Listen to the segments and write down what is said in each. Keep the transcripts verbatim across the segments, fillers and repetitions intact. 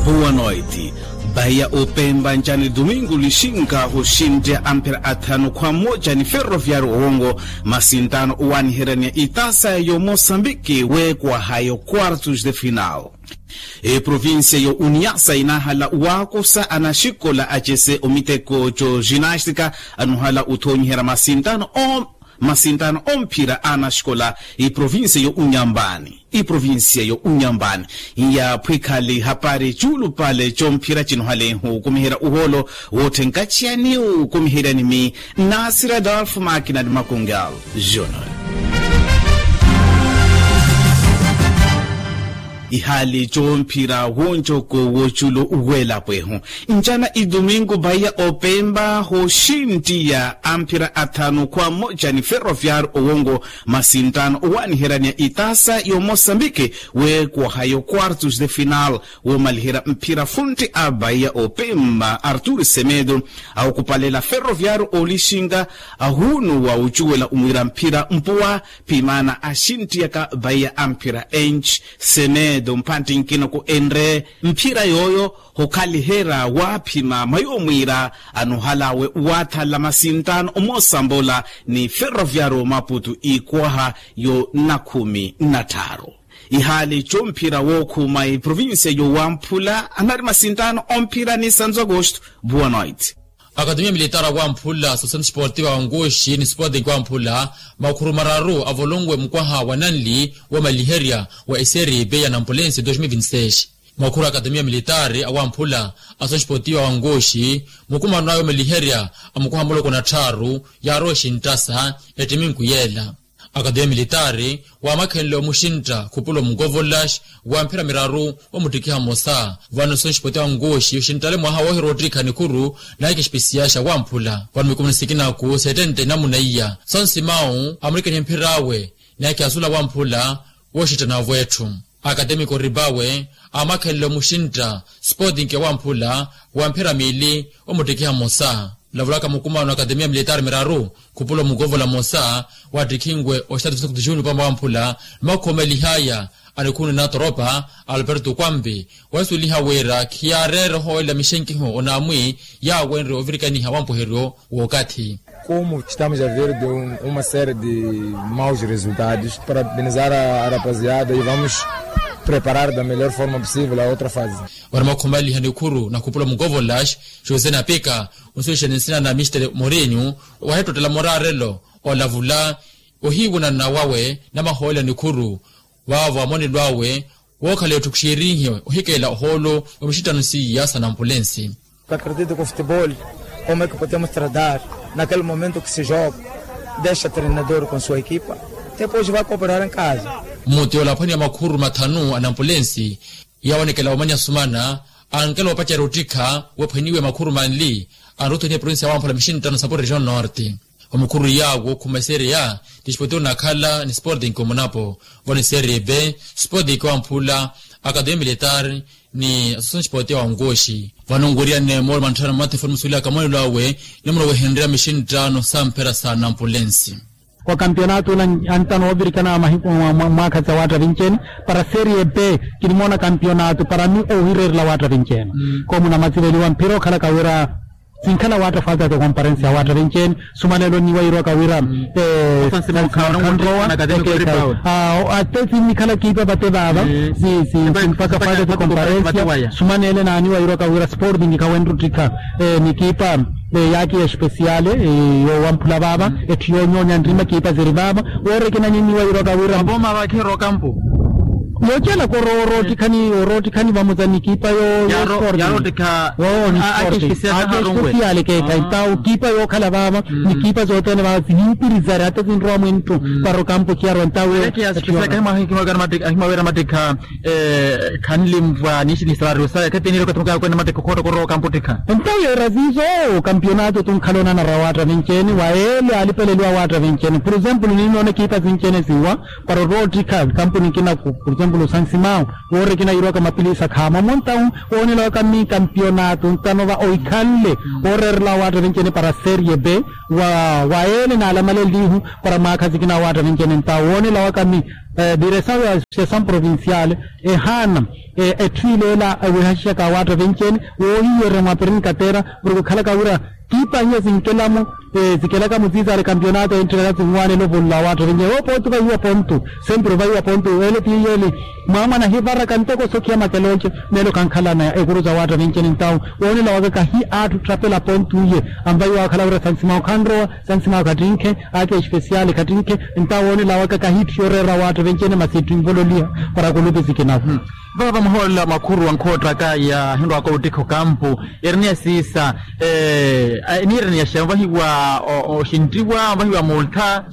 Huwa noiti. Bahiya opemba ncani dumingu lixinka oxinteya amphira athanu khwa mmoja ni ferroviario owongo, masintaano owaaniheryaniya itasa yo mosambiki weekwaha yo quartos de final. Eprovincia yo uniasa inahala wakosa anaxikola acese omiteko co ginastika anuhala uthonyiherya masintaano o masintaano omphira a anaxikola. Iprovincia yo unyambani iprovincia yo unyambani, iyaphwikhali hapari cuulupale comphira cinohalehu okumiherya uhoolo woothenkaciya ni okumiherya ni mi nasira adolfo makina ni makungal. Junior. Ihali comphira woncoko woculo uwelapwehu ncana idumingu bahiya opemba hoxintiya amphira athanu khwa mmoja ni ferroviario owongo, masintaano owaaniheryaniya itasa yo mosambiki weekwaha yo quartos de final woomaliherya mphira funti a bahiya opemba artur semedo, awokupalela ferroviario olixinka ahunuwa ocuwela omwiira mphira mpuwa. Phimaana axintiyaka bahiya amphira enci semedo mphantti nkina ku enre mphira yooyo hokhaliherya waaphima mwayoomwiira anohalawe waathala masintaano omoosambola ni ferroviario maputu ikwaha yo nakhumi natthaaru. Ihaali comphira wookhuma iprovincia yowamphula anari masintaano omphira ni santo agosto. Boa noite. Akatemiya militari awamphula sosenti sportiva wa nkuxi ni sporting wamphula makhuru mararu avolonwe mukwaha wa nanli womaliherya wa eseripe ya nampulensi dos mil vinti seis. Mwakhuru a akatemiya militari awamphula a sosenti sportiva wa nkuxi mukumano awe omaliherya a mukwaha muloko na tthaaru yaarowa exintasa ettiminku yeela. Akatemiya militari waamakhenle omuxintta khupula omukovolax wa mphira miraru omuttikiha mmosa. Vano sonsipoti wa nkuxi oxinttale mwaha woohira ottikha nikhuru naikha espesiyaxa wamphula vano mikumu ni sikinaku settenta enamuna iya sonsimawu amurikanihe mphir'awe naikha asula wamphula wooxittanavo etthu. Akatemiko ripawe aamakhenle omuxintta sporting wamphula wa mphira miili omuttikiha mmosa. Olavulaka mukumano akatemiya militari miraru khupula omukovola mmosa wattikhinwe oxitatu sexto de junio pampa wamphula. Ni makhomelihaya a nikhunu na toropa alberto kwampi wasuweliha wira khiyaareera ohoolela mixenkiho onaamwi yaawenrye ovirikaniha wampuheryo w'okathi. Como estamos a ver de uma série de maus resultados, parabenizar a rapaziada e vamos preparar da melhor forma possível a outra fase. Wari makhomaliha nikhuru na khupula mukovolax josé napika onsuwexani nsina na mister morinho wahettottela moraarelo olavula ohiiwunana wawe na mahoolelo nikhuru. Vaavo amonelo awe wookhala etthu khuxiirinhe ohikeela ohoolo wa mixitano siiya sa nampulensi. Acredito que o futebol como é que podemos tratar naquele momento que se joga, deixa treinador com sua equipa, depois vai cooperar em casa. Mmuti ola aphwaniwa makhuru mathanu a nampulensi yawanekela omanya sumana ankela opacerya ottikha wephwaniwe makhuru manli anruthonihe provincia wamphula mixinttano sapo region norte. Omukhuru yaawo khuma eseria tispoti onakhala ni sporting omunapo vano eseria b sporting wamphula akademia militar ni asosonspoti ya wankoxi. Vano nweriyane moolo mantthana mmatefoni musuwelaka mwanelo awe nimuna wehenreya mixinttano samphera sa nampulensi. Wa kampionato ula antano ovirikana mahiku mwaakha sa watta vinci ene para serie b kinimoona kampionato para mi ohireerela watta vinci ene. Komu namatsiveliwa mphira okhalaka wira sinkhala watta falta de comparensi ya watta vinci ene. Sumanelo niwairwaka wira ate sinnikhala kiipa vate vaava simpaka falta de comparensi ya sumanele naani wairwaka wira sporting khawenruttikha ni kiipa yaakhi ya espesiale yowamphula vaava etthu yoonyoonya nrima kiipa ziri vaava. Woorekinanyi niwairwaka wira vavooma vakheera okampu yoocelaka oroottikhani oroottikhani vamosa ni kiipa yo. Yaroottikha. Aake espesiale keekhayi ntawo kiipa yookhala vaava ni kiipa zothene vaava zihimpiriza ri ata sinrowa mwenttu para okampu khiyarwa ntawo. Ahimawira mattikha khanlimvwa ni salario sawe khatinire okathi mukaya kwene mattikha okhootta korowa okampu ttikha. Ntawo yeera siiso kampionato tunkhala onanara watta vinci ene wa ele alipeleliwa watta vinci ene por exemplo ninoona kiipa sinci ene siwa para oroottikha kampuni kinaku por exemplo. Sansimawu woori ekinayiirwaka mapilisa khaama omontawu woonelawaka mii kampionato ntano va oikhanle wooreerela waatta vencene para serie b wa wayeele naalamalenlihu para mwaakha sikina waatta vencene ntawo woonelawaka mii diresawu ya associasawu provinciale ehaana etthu ileela ewehaxixaka waatta vencene woohiyeerya mwa perinkateera murikukhalaka wira kiipanya sinkelamu sikelaka mutsiitsaale kampionato enttilaka sinwaanela ovolla waatta vencene woopooti vahiwa pontu sempre vahiwa pontu ele tiiyeli mwaamwana hivaraka ntoko sokhiya makelonce meelo khankhalana ekuru sa waatta vencene ntawo woonelawaka kahi atthu tthapela pontu iye anvahiwa akhala wira sansimawo khanrowa sansimawo khattinkhe ake espesiali khattinkhe ntawo woonelawaka kahi itthu yooreera waatta vencene masi itthu invololiha para kulupi sikinaku vava muhoolela makhuru ankhoottaka yaahinrwaka ottikha okampu ereniya siisa eniireniyaxa onvahiwa oxinttiwa onvahiwa multha.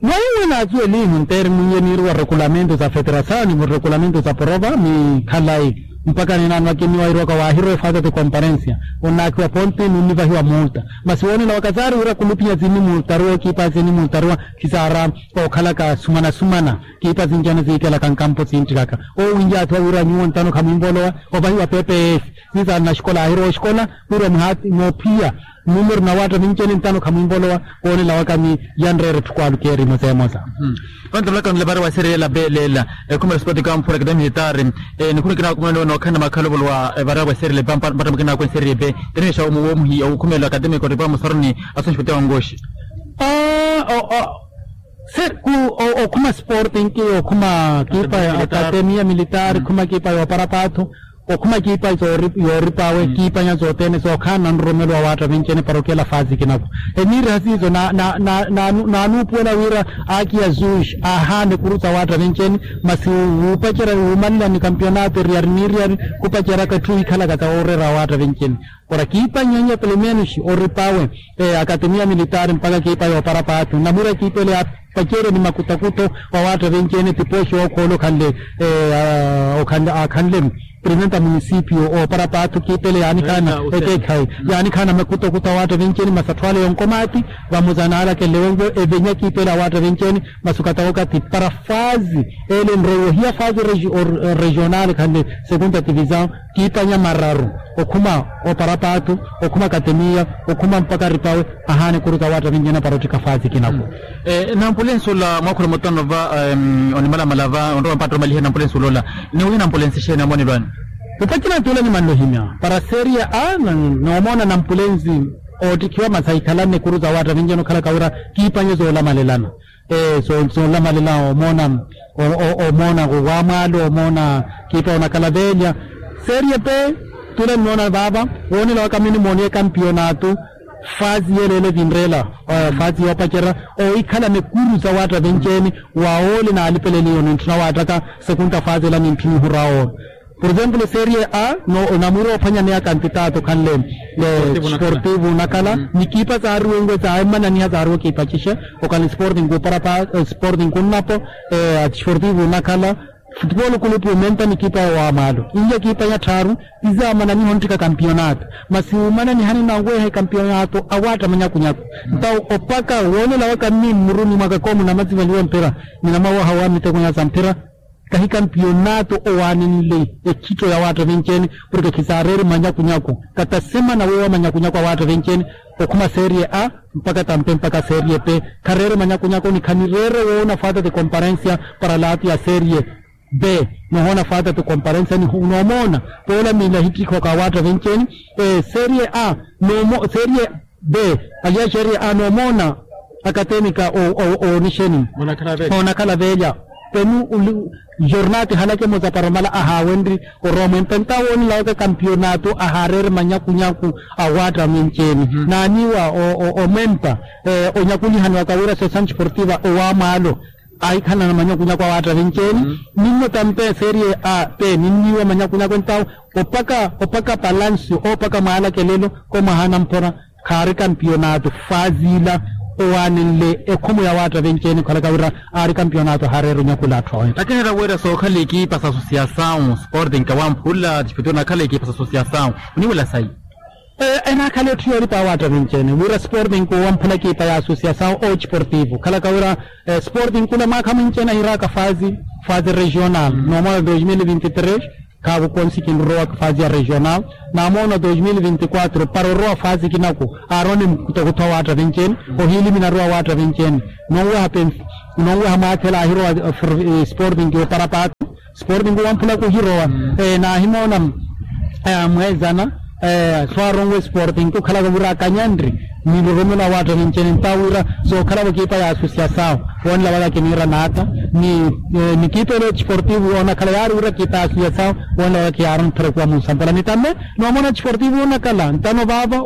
Waiwe naatsuwelihu nteeri mwiiye niiriwa rekulamentu sa feterasawu ni rekulamentu sa porova ni khalayi mpakha ninaano akimiwa iriwaka waahirowa efaata ti komparensiya onnaakhiwa ponti nunnivahiwa multa masi woonelawaka saari wira kulupinya tsinnimultaruwa kiipa tsinnimultaruwa khisaara ookhalaka sumana-sumana kiipa sinci-ene siikelaka nkampo sinttilaka oowinjaathiwa wira nyuwo ntano khamwinvolowa ovahiwa pepe eefi sisaana xikola aahirowa oxikola wira muhaati moophiya numeru na waatta vinci-ene ntano khamwinvolowa woonelawaka ni yanreera etthu kwaalukeeri emosa emosa. Vantamulaka nle vaari wa serie ela beela ela ekhumela esporte kamphula akademi militaari nikhuna kinakumana nookhalana makhalovolo wa vaari wa serie ela mpatta mukinakwene serie be teniwexa woomuhi okhumelela akademi kotipa musaruni asunxuti wa nkoxi. Okhuma sporting okhuma kiipa ya akademiya militaari khuma kiipa yoopara paathu okhuma kiipa yooripa awe kiipanya sothene sookhaana nroromelo wa waatta vinci-ene para okela faasi kinaku eniiriha siiso naanuupuwela wira aki ya zush aahaana ekuru sa waatta vinci-ene masi wuupacerya wuumanlani kampionato eriyari n'iriyari khupaceryaka etthu iikhalaka sa wooreera wa waatta vinci-ene para kiipa nyannya pelo menos oripa awe akatemiya militaari mpakha kiipa yoopara paathu namwira kiipa ele yaapaceryani makutakuto wa waatta vinci-ene tipooxi ookhoolo okhanle aakhanle priventa munisipio oopara paathu kiipa ele yaanikhaana ekeekhayi yaanikhaana makutakuto a waatta vinci-ene masi atthu ale yonkomaati vamosa naalakenle wenvo evenya kiipa ele a waatta vinci-ene masi okatawoka ti para faazi ele enroiwa ohiya faazi regional khanle segunda tivisawu kiipanya mararu okhuma oparapaathu okhuma katemiya okhuma mpaka ripawe ahaana ekuru sa waatta vinci-ene para ottika faazi kinaku. Nampulensi ola mwaakhula mutano va onimalamala va onrowa mpatta omaliha nampulensi ola ola niwiha nampulensi exeeni amonelwani? Opacina tuula nimanle ohimya para seria a noomona nampulensi oottikhiwa masi ahikhalanne ekuru sa waatta vinci-ene okhalaka wira kiipanya soolamalelana soolamalela omoona omoona wamwaalo omoona kiipa onakhala veelya serie pe tule nnoona vaava woonela waka mini mooniye kampiyonaato faazi yeleele vinreela faazi yoopacerya oohikhala mekuru sa waatta venceeni wa oole naalipeleliyo nintthuna waattaka sekunta faazi ela nintthuna ohura oole. Por exemplo serie a onamwiira oophwanyaneya kantitato khanle sportivo onakhala nikiipa saariwe nwe saammananiha saariwe kiipa cixe okhala sporting kuparapa sporting kunnapo sportivo onakhala futupolo kulupu omenta nikiipa ya wamalo inja kiipa ya tthaaru tizaamananiha ontthika kampiyonato masi wumananihani nanweha ekampiyonato awaatta manyakunyaku ntawo opaka woonela waka mmi mmuruni mwaka koomunamatsivaliwa mphira ninamawaha wa miteko nya sa mphira kahi kampiyonaato owaanenle ekhitto ya waatta venceene porke khisaareeri manyakunyaku katasemana weewa manyakunyaku a waatta venceene okhuma serie a mpaka tampe mpaka serie pe khareere manyakunyaku ni khanireere woona faata ti komparensia para laapi ya serie pe nohoona faata ti komparensia ni noomoona poola miila ehittikhoka a waatta venceene serie a serie be aliya serie a noomoona akatemika oonixeni oonakhala veelya penu jornati halake muzaparomala ahaawenri orowa mwempe ntawo onilawaka kampiyonaato ahaareere manyakunyaku awaatta mwenceeni naaniiwa omwempa onyakulihaniwaka wira sosanti sportiva owaamwaalo ahikhalana manyakunyaku awaatta venceeni ninno tampe serie a pe ninniiwa manyakunyaku ntawo opaka opaka palancio oopaka mwaalakelelo komwaha namphora khaari kampiyonaato faazi ila owaanenle ekhomo ya waatta venceeni okhalaka wira aari kampiyonaato ahaareera onyakula atthu awe. Akineera wira sookhala ekiipa sa asosiyasawu sporting kawamphula tispituna akhala ekiipa sa asosiyasawu oniwela sayi. Enaakhala etthu yoolipa awaatta vinci-ene wira sporting kuwamphula ekipa ya associasaw o desportivo khalaka wira sporting kula mwaakha mwinci-ene ahiraaka faazi faazi regional noomona dos mil vinti tres. Khaavo konsi kinrowa faazi ya regional. Namoona dos mil vinti quatro para orowa faazi kinaku aarowa ni mukutokutho awaatta vinci-ene ohiilimina arowa awaatta vinci-ene. Nonweha mwaathela ahirowa sporting kiwopara paati. Sporting kuwamphula kuhirowa naahimoona mweezana swaronwe sporting kukhalaka wira akanyanri ni lurumelo awaatta vinci-ene ntawo wira sookhalavo kiipa ya associasaw. Wonlavaka kiniira naata ni kiipa elo desportivo yoonakhala yaari wira kiipa ya associasaw. Wonlavaka kiyaarontherekuwa munsampala ni tamme noomona desportivo yoonakhala ntano vaava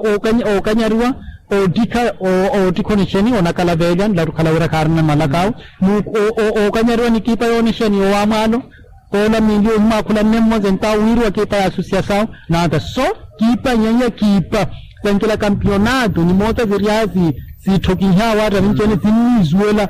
ookanyariwa oottikha oottikha onixeni onakala veelya nlattukhala wira khaarina malaka awe. Ookanyariwa ni kiipa yoonixeni owaamwaalo. Koola miili ohimwaakhulanne mmosa entawo wiiriwa kiipa ya associasaw naata so kiipa nyanya kiipa. Sankela kampionato ni moota siryaasi siitthokiha awaatta vinci-ene sinniisuwela.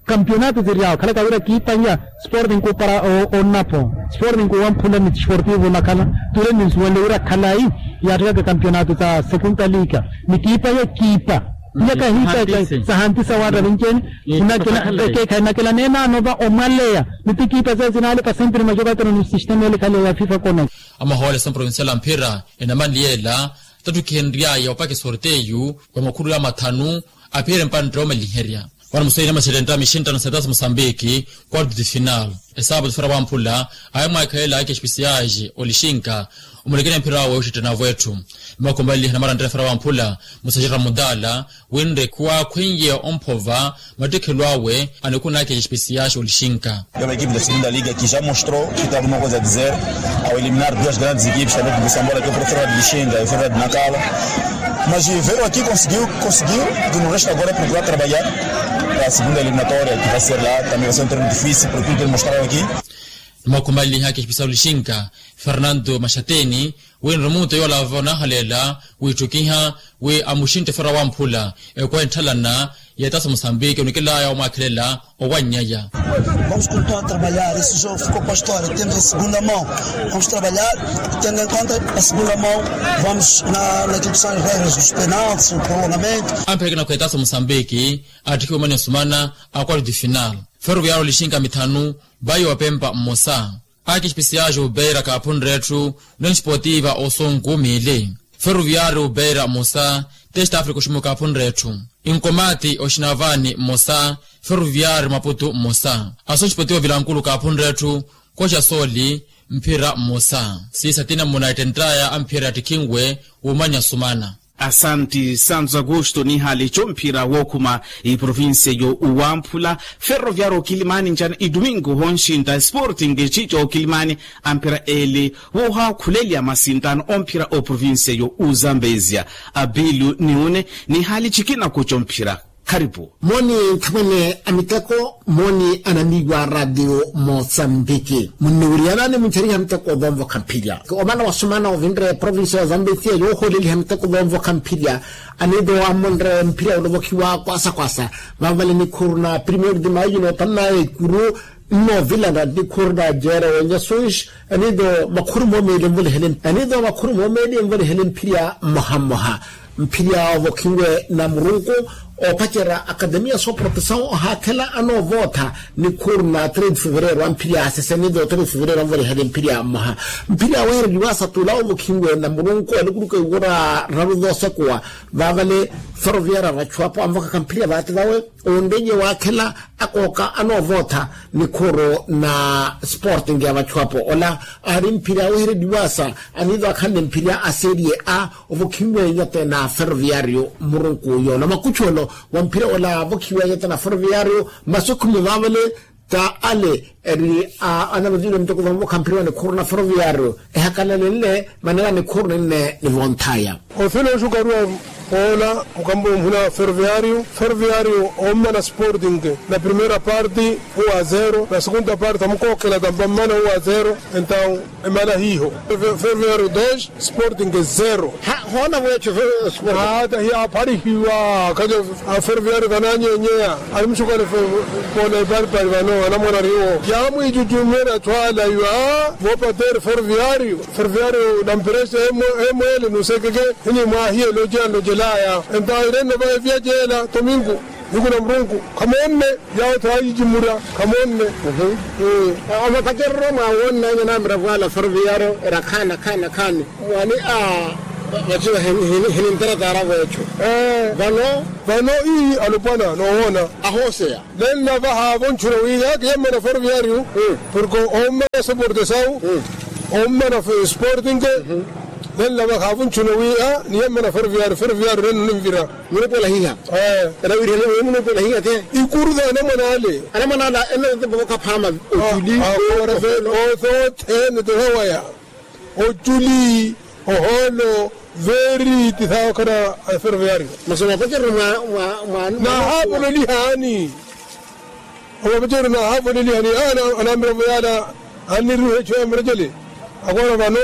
Kampionato siryawo khalaka wira kiipa nya sporting kuupara onnapo sporting kuwamphula ni desportivo onakhala. Tule ninsuwenle wira khalayi yaattekaka kampionato sa segunda liga ni kiipa ya kiipa nya kahiipa sahantisa awaatta vinci-ene. Ekeekha enakela neenaano va omwaleya ni ti kiipa seyo sinaalepa sempre macopattano ni sistema ele khaleya ya fifa kona. Amahoole sa provincial a mphira enamanliyela tattukhenryaya opaka esorteyu wa makhululu ya mathanu. Aphiire mpantte oomaliherya vano musaina masetenta mixinttano setaso musambiki quarto de final. Esaapatu fera wamphula awe mwaakhelela ake espesiaji olixinka omulekeni mphira awe oxittenavo etthu. Mmakomalihe namaranttela fera wamphula musajira mudala winre khuwaakhwenye omphova mattikhelo awe. Anikhunaka espesiaji olixinka. Uma equipe da segunda liga que já mostrou que tem alguma coisa a dizer ao eliminar duas grandes equipes também de busambola que é o professor de lixinga e o professor de nakala. Mas veio aqui conseguiu conseguiu. Que no resto agora é procurar trabalhar para a segunda eliminatória que vai ser lá também vai ser um treino difícil por tudo que ele mostrou aqui. Mmakhumaliha kispisa olixinka fernando maxateni wi nromuto yoolava onahaleela wiitthukiha wi amuxintte fera wamphula ekwa entthalana y'etaso musambiki onikelaya omwaakhelela. Owannyaya. Vamos continuar a trabalhar esse jogo ficou para a história temos a segunda mão. Vamos trabalhar tendo em conta a segunda mão. Vamos na na equipe são as regras dos penaltis o prolongamento. Ampheke nakhu etaso musambiki attikhiwe omanya osumana a quarto de final. Ferroviário lixinka mithanu bayi opempa mmosa. Aki espesiaxi obeira kaaphunre etthu. Union sportiva osunku miili. Ferroviário obeira mmosa. Test africa oximuka aphunre etthu. Inkomati oxinavani mmosa. Ferroviário maputu mmosa. Aso sportiva vilankulu kaaphunre etthu. Koxa sooli mphira mmosa. Siisa tina mmuna ettenttaya a mphira yattikhinwe womanya osumana. Asanti santo agosto nihaali eco mphira wookhuma iprovincia yo uwamphula. Ferroviário okilimani ncana idomingo honxinta sporting ecico okilimani. Amphira ele woohaakhulelya masintano omphira oprovincia yo uzambezia. Abilu niune nihaali cikina kuco mphira. Kharipu. Moni nthamwene a miteko moni anamiiwa a ratio mosambiki munniwiriyanani muncheriha miteko ovonvokha mphirya. Omana wasumana ovinre provincia ya zambezia yooholeliha miteko ovonvokha mphirya. Anito amonre mphirya olovokhiwa kwasa kwasa vavale nikhuru na primeiro de maio notanna ekuru nnovilana nikhuru na jere wenyasus. Anito makhuru momeeli envolihele mphirya mmoha mmoha. Mphirya ovokhiwe na murunku opacerya akademia sooprotesaw ohaakhela anoovootha. Nikhuru na trade fevereiro amphirya asese nito trade fevereiro anvolihele mphirya mmoha. Mphirya awehereliwa asatula ovokhiwe na murunku alikuluka iwora raru zoosekuwa. Vaavale ferroviaria vachu apo anvokaka mphirya vaati vawe. Onrenye waakhela akooka anoovootha nikhuru na sporting ya vachu apo ola aari mphirya awehereliwasa. Anito akhanle mphirya a serie a ovokhiwenya tena ferroviario murunku yola makuchu olo wa mphirya ola avokhiwenya tena ferroviario. Masi okhumi vaavale ta ale eri anavotile muteko vamuvokha mphirya wa nikhuru na ferroviario ehakalalenle manera nikhuru ninne nivonthaya. Ofele oxukaruwa Poola mukambo muhina ferroviario ferroviario ommana sporting, na primeira parte, um a zero na segunda parte amukookhela tampa mmana um a zero. Entaw emana hiiho. Ferroviario dos, sporting zero. Hoona vweecho. Hata hiyapharihiwa khajo. Aferroviario vananyenyeya, animuxukale poola eparipari vano anamwana ariwo yaamwijujummyana atthu ala iwa. Voopateeri ferroviario ferroviario na mperese, emwele nusekeke. Hini mwaahiye lojela nlojelaya. Entaw irenno va evyajeela tomingu, niku na murunku khamoonne. Yaawo thaayijimurya khamoonne. Omapacereryo mwaawonnanya namiravo ala ferroviario era khaani khaani khaani. Mwaani a vaciwa hininteretaaravo echo. Vano vano ii alopwana noowoona. Ahooseya nenlava haavo nchuna wi yaaki yammana ferroviario. Porke ommana soporte sawu, ommana sporting. Nenlava haavo nchuna wi a niyammana ferroviario ferroviario nenno ninvira. Munuupola hiha. Erawirihana munuupola hiha te. Ikuru tha anamwana ale. Anamwana ala ennothopokha phaama. Otuli. Othene tohawaya. Oculi, ohoolo, veeri ti thawa okhana. Aferoveyario. Masi omapacereryo mwa mwa mwa. Nahaapolelihaani. Omapacereryo nahaapolelihaani. Anamiravo yaala anniruuha echo ya murejele. Akoona vano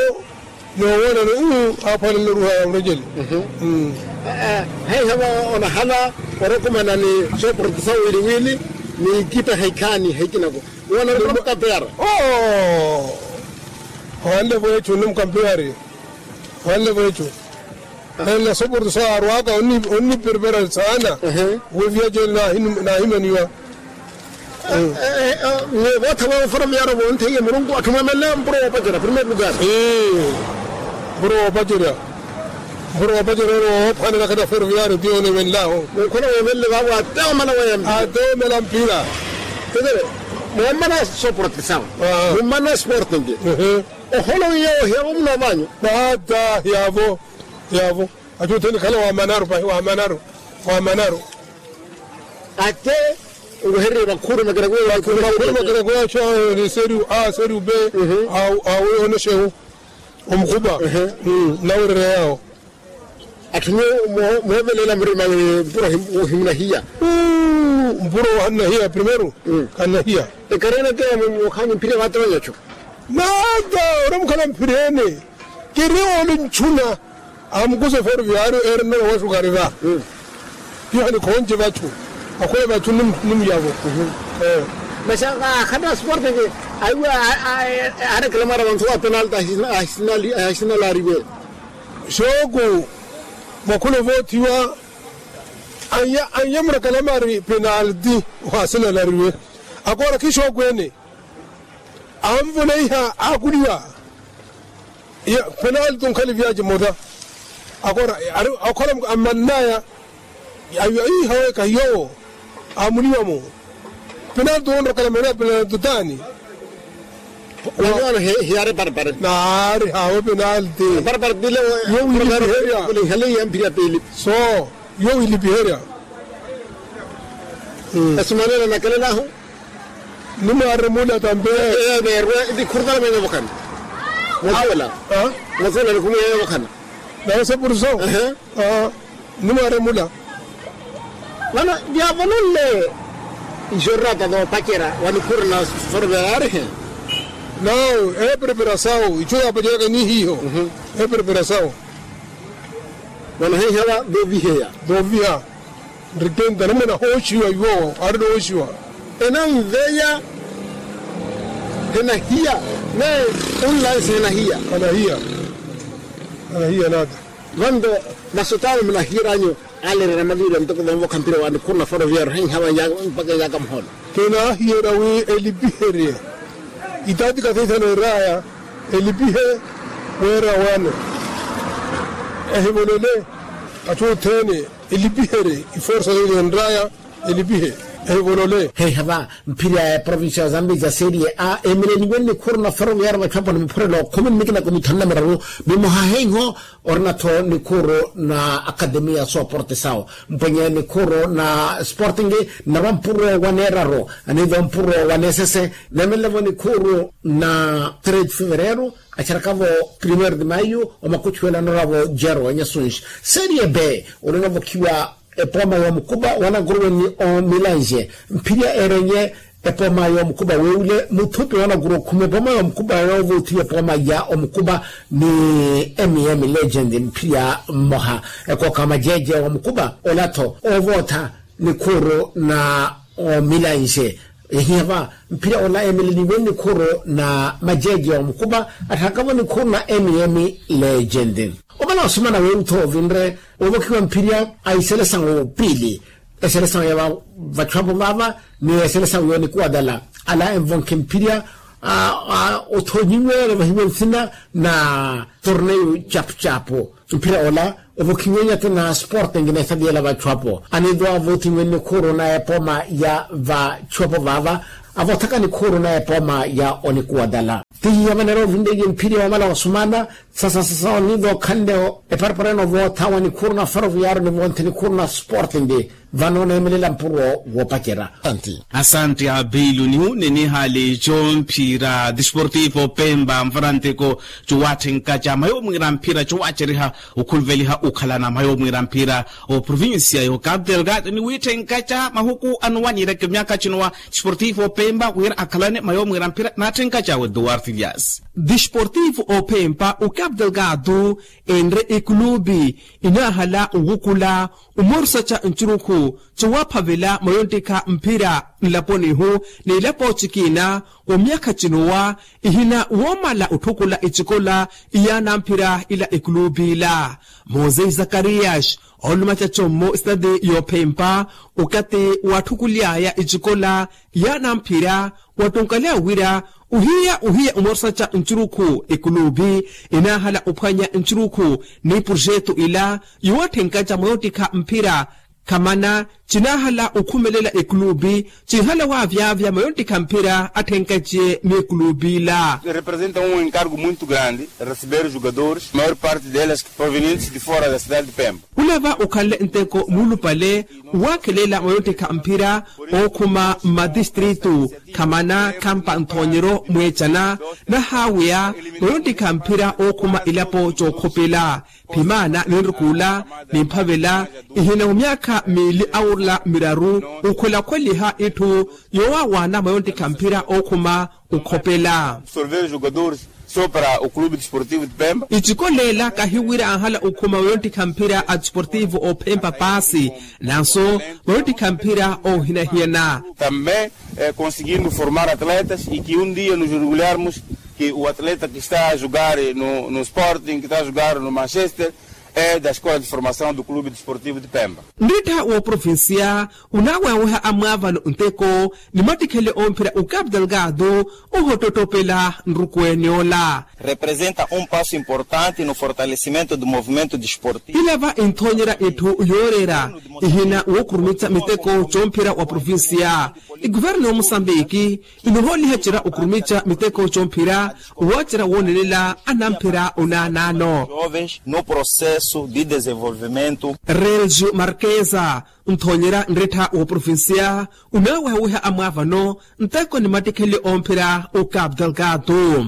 noowoona ni aaphwanela oruuha ya murejele. Heiha va onahala orokomana ni sooporto sa wiiliwiili. Ni ikitta heikhaani heikinako. Woona ori mukampeyara. Oo. Ohanle vweecho onno mukampeyari. Ohanle vweecho. Nela soporto saarwaka onniperepera saana. Weviya jene naahimaniwa. Nyuwo vootha voofora miyaro vontheiye murunku atthu mweemelela mpuro woopacerya primeiro lugar. Mpuro woopacerya. Mpuro woopacerya ori woophwanela khata ferroviario ti oneemenlahu. Mukhona weemelele vaavo ateomala weempi. Ateomala mpira. Tetele. Mummana soporte sawa. Mummana sporting. Oholo wiiya ohiya vo muno vanyu. Nata hiyaavo. Hiyaavo. Achutheni khala wamanaru pahi wamanaru. Wamanaru. Ate nwehererye vakhuru makerakuya. Vakhuru makerakuya acho ni seriu a seriu be. Awe onoxehu. Omukhupa. Nawererya yawo. Atthu nyuwo moovelela murima mpuro ohimunahiya. Mpuro ohannahiya primeiro. Kannahiya. Ekarena te mukhanyi mphirya vaatoonyacho. Nata oramukhala mphirene. Kiri oli nchuna. Amukusa eferoviario eri nnola wa sukari va. Piha nikhonje vachu. Akhwele vachu ni muyavo. Masi akhana sporte ke aiwe. Arekelamara vantu wa penalti ahisinalariwe. Xooku vakhula voothiwa. Anye murekelamari penalti. Ohaasinalariwe. Akoora khixooku ene. Anvoleiha aakuliwa. Penalti onkhaliviyace mota. Akoora. Akhola ammannaya. Aiwe iiha weka hiyowo. Amuliwa-mo. Penalti onrokela mene penalti taani. Wano hiyari parpare. Naari hawe penalti. Parpare tile. Yo wilipiherya. Kulinhaliya mpira pili. So yo wilipiherya. Esimanela nakelelahu. Nimwaremula tampe. Eberwe. Tikhurutala menye vokhana. Mwakuwela. Mwakuwela nikhumuyenye vokhana. Nawe sepuriso. Nimwaremula. Vano vyaavononle ixorata voopacerya wanikhurina sorvera arihe. Nawu eeperepera sawu icho yaapaceryaka ni hiiho. Eeperepera sawu. Vano heihawa vooviheya. Vooviha. Nrikenta namwene ahooxiwa iwo. Ari nooxiwa. Enanveya. Henahiya. Naye onlansi henahiya. Anahiya. Anahiya nata. Vanto masotano munahiyeranyu. Aleerera maviirya ntoko vamuvokha mpira wa nikhuru na foroviyaru heihawa mpaka eyaaka muholo. Kinaahiyerya wi elipiherye. Itaati kathethano eraya elipihe. Weera wane ehivolele. Atthu othene elipiherye iforsa yoyo enraya. Elipihe. Heivolole heiha va mphirya ya provincia ya zambezia serie a emeleliwe ni nikhuru na ferroviario vatthu apo ni muphurelo khumi ni mikinako mithanu na miraru. Mimoha heiho orina-tho nikhuru na akademia sooporte sawo mpwenye nikhuru na sporting. Narwa mpuro wa neeraru aniiva mpuro wa neesese. Neemelele-vo nikhuru na trade fevereiro acharakavo primeiro de maio omakuchuwela noravo jero enyasunshi serie b. Olonavokhiwa epooma ya omukupa wanakuruwe ni omilange mphirya erenye epooma ya omukupa weewule muthupi wanakuruwe okhuma epooma ya omukupa yoovoothiwa epooma ya omukupa ni mm legend mphirya mmoha ekooka majeeje wa omukupa ola-tho oovootha nikhuru na omilange. Ehiya va mphira ola emeleliwe nikhuru na majeeje wa mukupa atthakavo nikhuru na mm legend. Omala osumana weeru-tho ovinre ovokhiwa mphirya a iselesawu piili eselesawu ya vatthu apo vaava ni eselesawu yoonikuwa dala ala envonkhe mphirya othonyiwe olovahiwe nsina na torneio chapu chapu. Mphira ola ovokhiwe nyati na sporting na esadi ela vatthu apo aniiva avothiwe nikhuru na epooma ya vatthu apo vaava avoothaka nikhuru na epooma ya onikuwa dala. Tihiya vaneera ovinleiye mphirya wamala wasumana sasa sasa oniiva okhanle eparapara ene ovootha wa nikhuru na ferroviario ni vonthi nikhuru na sporting. Vano oneemelela mpuro woopacerya. Asante abilu nihu ninihaali comphira desportivo pemba mfara nteko cowatthenkaca mayo mwiira mphira cowaaceriha okhuluveliha okhalana mayo mwiira mphira oprovincia yo cabo delgado ni wiitthenkaca mahuku anowa niireke myaakha cinowa desportivo pemba wira akhalane mayo mwiira mphira naatthenkaca awe duarte dias. Desportivo opempa o cabo delgado enre ekulupi inaahala owukula omorusaca ncurukhu cowaphavela mayontikha mphira nlaponihu n'ilapo cikina wa myaakha cinowa ihina woomala otthukula ecikola iyaana mphira ila ekulupi ila. Mose zakarias oolumaca commo esitati yoophempa okathi waatthukuly'aya ecikola yaana mphira wattunkaleya wira ohiya ohiya omorusaca ncurukhu ekulupi inaahala ophwanya ncurukhu ni projeto ila yowatthenkaca mwa yottikha mphira khamana cinaahala okhumelela ekulupi cinhala waavyavya mwa yottikha mphira atthenkace ni ekulupi ila. Representa um encargo muito grande receber jogadores maior parte delas provenientes de fora da cidade de pemba. Khulava okhanle nteko muulupale owaakhelela mwa yottikha mphira ookhuma mmatistritu khamana khampa nthoonyeryo mweecana nahaaweya mwa yottikha mphira ookhuma ilapo cookhopela. Phimaana ninrukhuula nimphavela ihina wa myaakha miili aurula miraru okhwelakhweliha itthu yowaawaana mwa yottikha mphira ookhuma okhopela. Sopra o clube desportivo de pemba icikolela kahiwira anhala okhuma wayottikha mphira a desportivo opempa paasi nanso wayottikha mphira oohinahiyana. Também conseguimos formar atletas e que um dia nos orgulharmos que o atleta que está a jogar no sporting que está a jogar no manchester é da escola de formação do clube desportivo de pemba. Nrittha wooprovincia onaaweweha amwaavano nteko ni mattikhele omphira o cabo delgado ohottottopela nrukweene ola. Representa um passo importante no fortalecimento do movimento desportivo. Ilava inthoonyerya itthu yooreera ihina wookurumica miteko comphira wa provincia. Ikuvernu ya musambiki inohooliha cira okurumica miteko comphira owacira woonelela anamphira onaanaano. Jovens no processo de desenvolvimento. Relgio marquesa nthoonyerya nrittha wooprovincia onaawehaweha amwaavano nteko ni mattikheli omphira o cabo delgado.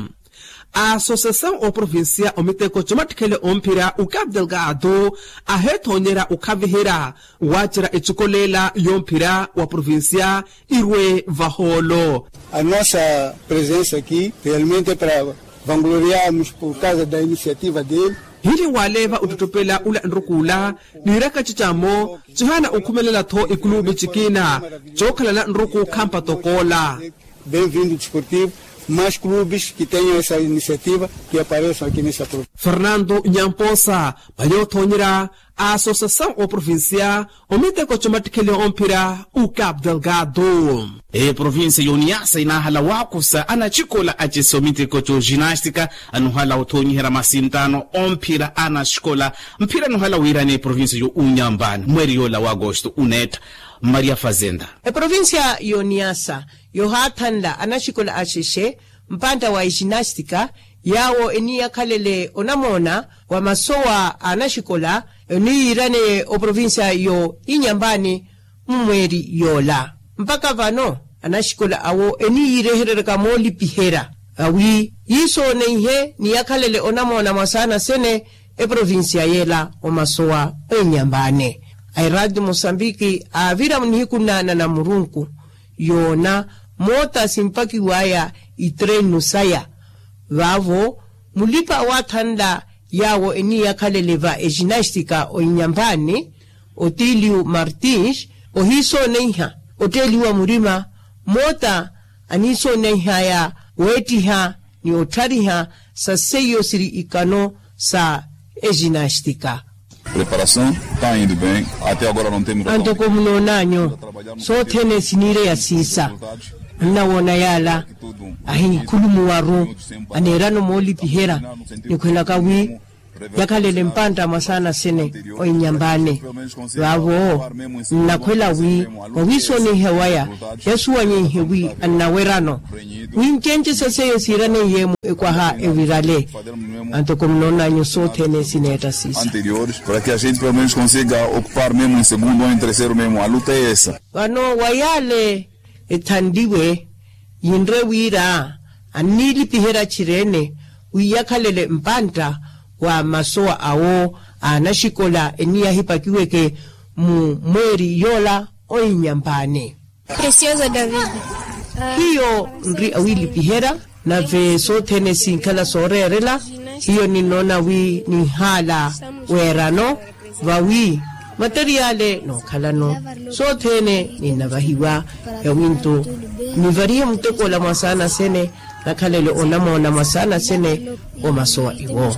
A associação oprovincia omiteko comattikheli omphira o cabo delgado aheethoonyerya okhaviherya waacira ecikolela yomphira wa provincia irwe vahoolo. A nossa presença aqui realmente para vangloriarmos por causa da iniciativa dele. Hili waaleva ottottopela ula nrukuula niiraka cicamo cihaana okhumelela-tho ikulupi cikina cookhalana nruku khampa tokoola. Bem-vindo desportivo, mais clubes que tenham essa iniciativa que apareçam aqui nessa província. Fernando nyamposa mayoothoonyerya a associação oprovincia omiteko comattikheli omphira o cabo delgado. Eprovincia yoniyasa inaahala waakusa anacikola acisa omiteko co ginastica anuhala othoonyiherya masintaano omphira anacikola mphira anuhala wiirani eprovincia yo unyambani mweeri yoola wa agosto uneetta. Maria fazenda. Eprovincia y'oniyasa yohaathanla anaxikola axexe mpantta wa exinastika yaawo eniyakhalele onamoona wa masowa a anaxikola oniyiiraneye oprovincia yo inyampani mmweeri yoola. Mpakha vano anaxikola awo eniyiirehereryaka moolipiherya awi yiisooneihe ni yakhalele onamoona mwasaana sene eprovincia yeela omasowa oinyampani. Aeraati mosambiki aavira munihiku nnaana na murunku yoona moota simpakiwaya itrenu saya. Vaavo mulipa awaathanla yaawo eniyakhalele va exinastika oinyampani otiliu martins ohiisooneiha otteeliwa murima moota aniisooneiha weettiha ni otthariha sa seiyo siri ikano sa exinastika. Preparação ta indo bem. Até agora não temos antoko munoonanyo sothene siniireya siisa annawoona yaala ahikhulumuwaru aneerano moolipiherya nikhwelaka wi yakhalele mpantta mwasaana sene oinyampani. Vaavo nnakhwela wi wawiisooneihe waya yasuwanyeihe wi annawerano wi ncenci sa seiyo siiraneiye-mu ekwaha evirale. Antoko munoonanyu sothene sineetta siisa anteriores para que a gente pelo menos consiga ocupar mesmo em segundo ou em terceiro mesmo a luta é essa. Vano wayaale ethanliwe yinre wira anniilipiherya tchirene wi yakhalele mpantta wa masowa awo a anaxikola eniyahipakiweke mu mweeri yoola oinyampani. Preciosa david. Hiyo nri awiilipiherya nave sothene sinkhala sooreerela hiyo ninnoona wi ninhaala weerano vawi materiale nookhalano sothene ninnavahiwa yawinto nivarihe mutekoola mwasaana sene nakhalele onamoona mwasaana sene omasowa iwo.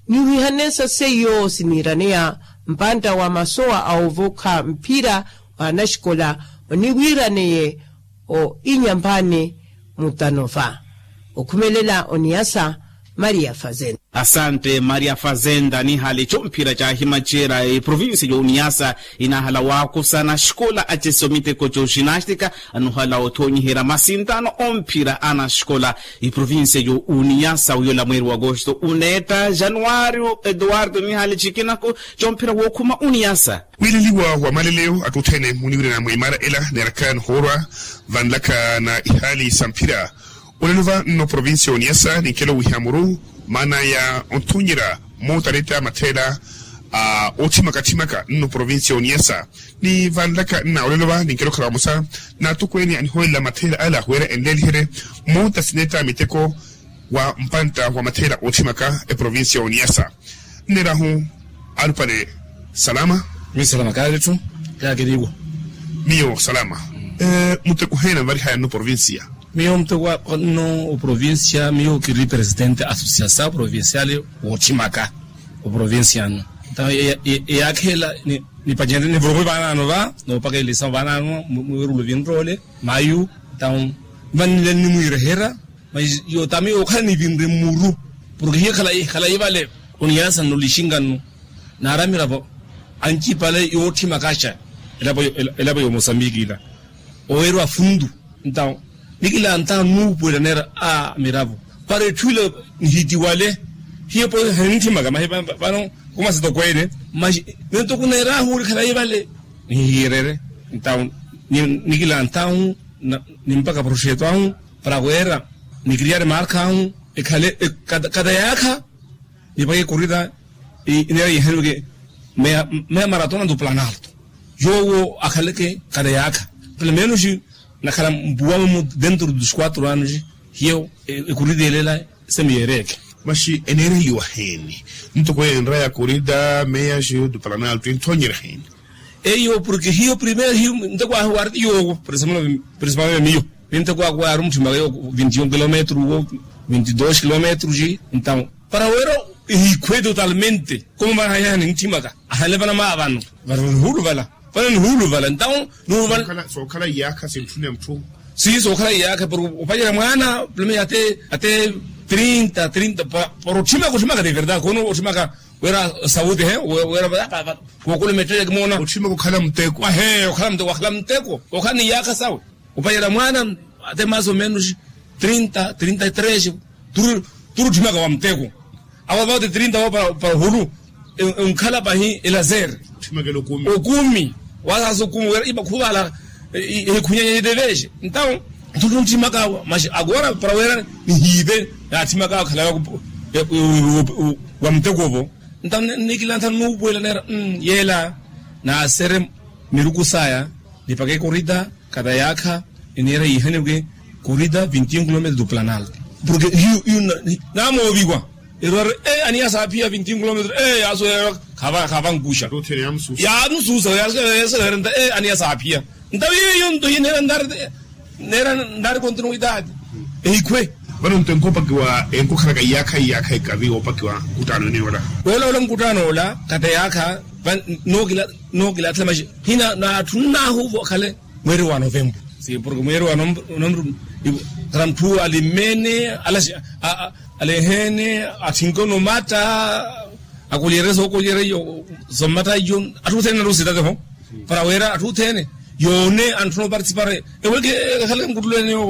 Niwihanesa seiyo siniiraneya mpantta wa masowa a ovokha mphira wa anaxikola oniwiiraneye o inyampani mutanova okhumelela oniyasa maria fazenda. Asante maria fazenda nihali comphira caahimaceera eprovincia y'oniyasa inahala waakusana xikola acesi omiteko c'oxinastika anuhala othonyiherya masintano omphira anaxikola. Eprovincia y'oniyasa wiyola mweeri w'agosto uneetta januwario eduwardo nihali cikinako comphira wookhuma oniyasa. Wiileliwa wa maleleyo atthu othene muniwirana mwa imara ela neerakaya nihoorwa vanlaka na ihaali sa mphira. Olelo va nno provincia oniyasa ninkelo wiha muru maana ya onthonyerya mootaretta matheela a otthimaka-tthimaka nno provincia oniyasa ni vanlaka nna olelo va ninkelo khala vamosa na attukweene anihowelela matheela ala wira enleeliherye moota sineetta miteko wa mpantta wa matheela ootthimaka eprovincia oniyasa. Nneerahu alupale salama. Miyo salama kaaletthu. Kaakeriwa. Miyo salama. Muteko heena mvarihaya nno provincia? Miyo muteko nno oprovincia miyo kiri presidente associação provinciale wootthimaka oprovincia nno. Nta eyaakheela nipacenrye nivuruku vaanaano va noopaka elisamu vaanaano mwiirulo vinroole mayu. Nta mvanile nimwiireherya. Mas yootami yookhala nivinre mmuru porke hiyo khalayi vale. Oniyasa nno lixinga nno naari amiravo ancipale yootthimakaxa elapo y'omosambiki ila oweerwa fundu. Ntawo nikilantha nuupuwela neera a miravo para etthu ila nihitiwale hiyo po hanintthimaka mahi vano kumasitokweene. Mas nento kuneerahu ori khalayi vale nihihiirerye. Ntawo nikilanthahu nimpaka proxeto ahu para wira nikiriyari marka ahu ekhale kata yaakha nipaka ekorita ineera yihaniweke meya maratona do planalto yoowo akhaleke kata yaakha pelo menos nakhala mpuwa mumu dentro dos quatro anos hiyo ekorita elela semiyeereke. Maxi eneereliwa heeni ntoko enra ya korita meya xiyo do planalto enthonyerya heeni? Eyo porke hiyo primero hiyo nteko ahu wari yoowo principalmente miyo. Ni nteko ahu wari omutthimaka yo vinti un kilometro wo vinti dos kilometro xi. Ntawo para wira ehikhwe totalmente komo vana hayaha nintthimaka ahale vana maa vano vano nihuuluvala vano nihuuluvala ntawo nihuuluvala. Sookhala iyaakha sintthuni ya mutthu. Si sookhala iyaakha porke opacela mwaana pulome ya ate ate trinta trinta para otthimaka otthimaka de verdade kono otthimaka. Wira sauti he wira. Kookulomettela kimoona otthimaka okhala muteko ahe okhala muteko wakhala muteko okhala ni yaakha sawe. Opayela mwaana ate maso menos trinta trinta y tres. Turi otthimaka wa muteko awo avauti trinta wo para ohulu. Onkhala pahi elazer okumi. Wasaasa okumi wira ipa khuvala ehikhunyanya yitevexe. Ntawo ntthutthimaka awo maxi agora para wira nihiive. Naatthimaka awo khalawe wa muteko ovo. Ntawo nnikilantha nuupuwela neera yeela naasere miruku saya nipaka ekorita kata yaakha eniira yiihaniwe korita vinti un kilometro do planal. Porke hiyo hiyo namooviwa erwari e aniya saaphiya vinti un kilometro e yaasoyerwa khavankuxa yaamusuusa. Yaasoyerwa nta e aniya saaphiya nta wiiyo yonto hiyo neera ntaari neera ntaari kontinuwitaati. Ehikhwe vano nto enkopakiwa enkokhalaka iyaakha iyaakha ekavi woopakiwa nkuttaano ene yoola. Woola woola nkuttaano ola kata yaakha nookila nookila atthila maxi hina naatthunnahu vakhale mweeri wa novembro. Si porke mweeri wa novembro kata mutthu alimmene alaxi aleehene athinke onomatta akolyerye sookolyerye iyo sommatta iyo atthu othene narusitate ho para wira atthu othene yoone antthuna oparticipare eweke ekhakhale nkuttulweneyo.